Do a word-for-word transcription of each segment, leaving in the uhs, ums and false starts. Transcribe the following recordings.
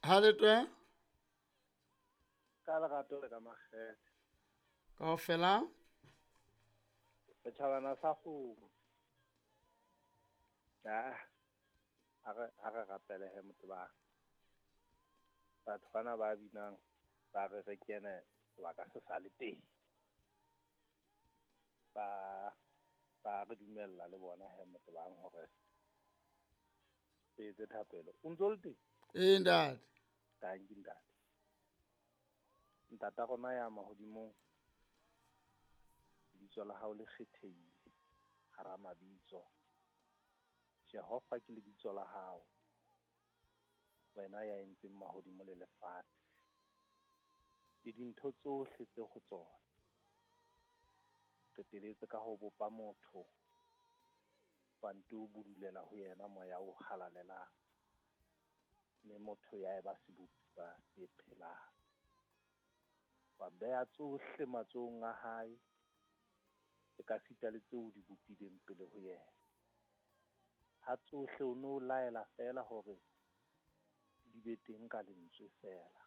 Ha le twe? Ka lerato le ka makgethe. Kaofela? Setjhabana sa kgomo. Ah, ha re ha re rapele he motebang. Batho bana ba binang ba re re kene sebaka se sa le teng. Ba ba re dumella le bona he motebang hore re etse thapelo. O ntso le teng? Ee, ntate. Tanki ntate. Ntata rona ya mahodimong, lebitso la hao le kgethehile hara mabitso. Jehova ke lebitso la hao, wena ya entseng mahodimo le lefatshe le dintho tsohle tse ho tsona. Qeteletse ka ho bopa motho, wa nto budulela ho yena moya o halalelang, mme motho ya eba sebopuwa se phelang. Wa beha tsohle matsohong a hae, ekasita le tseo o di bopileng pele ho yena. Ha tsohle o no laela feela hore di be teng ka lentswe feela,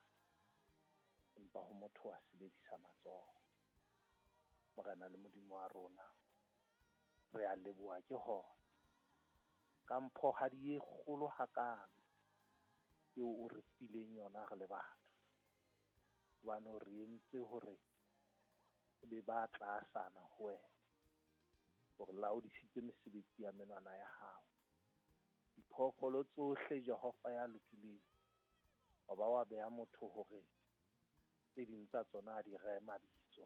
empa ho motho wa sebedisa matsoho. Morena le Modimo wa rona, re a leboha ke hona ka mphohadi e kgolo hakalo eo o re fileng yona re le batho. Hobane o re entse hore re be ba tlasana ho wena, o re laodisitse mesebetsi ya menwana ya hao. Diphoofolo tsohle Jehova ya lokileng, wa ba wa beha motho hore tse ding tsa tsona a di rehe mabitso.